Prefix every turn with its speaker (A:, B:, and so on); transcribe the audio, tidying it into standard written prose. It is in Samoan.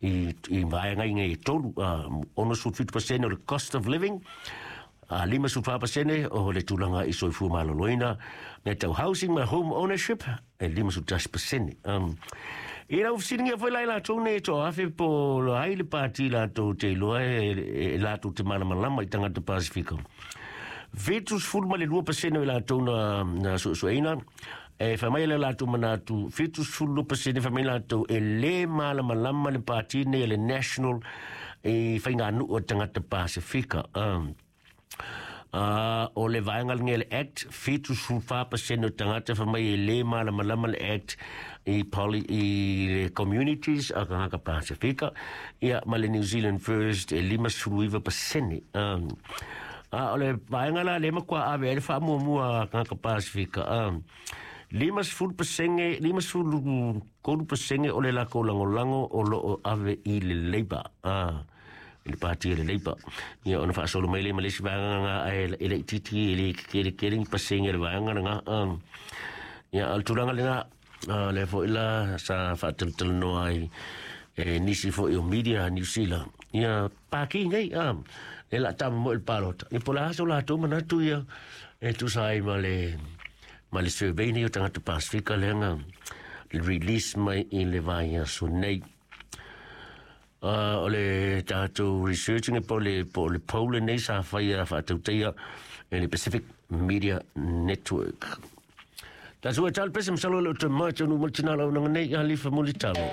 A: i vaega nei e tolu, 67% o le cost of living, 54% o le tulaga i soifua maloloina, mea tau housing ma home ownership, e 51%. I lau fesiligia foi la i latou nei e toafe po o ai le pati latou te iloa e latou te malamalama i tagata Pasifika. 72% o i latou na suesueina, e fai mai le latou manatu, 72% fai mai latou e lē malamalama le pati nei le National i faiganuu o tagata Pasifika. O le vaega lenei le Act, 74% o tagata fai mai e lē malamalama le Act i le communities a tagata Pasifika, ia ma le New Zealand First e 59%. A o le vaega la le matua ave ai le faamuamua a tagata Pasifika, 50%, 53% o le lakou lagolago o loo ave i le Labour, i le pati le Labour. Ia ona faasolo mai le ma le isi vaega nga e le itiiti e le kele kele ni pasenge le vaega lena. Ia o le tulaga lena, le foi la sa faatalatalanoa ai e nisi foi o media New Zealand. Ia paki nei e la tama mo le palota. Ia po la so latou manatu ia e tusa ai ma le survey nei o tagata Pasifika lea na release mai i le vaiaso nei. O le tatou researching po le poll nei sa faia faatautaia e le Pacific Media Network. Tatou e talo pese masalo le o te mai tonu mo le tina lau nanga nei alifa mulitalo.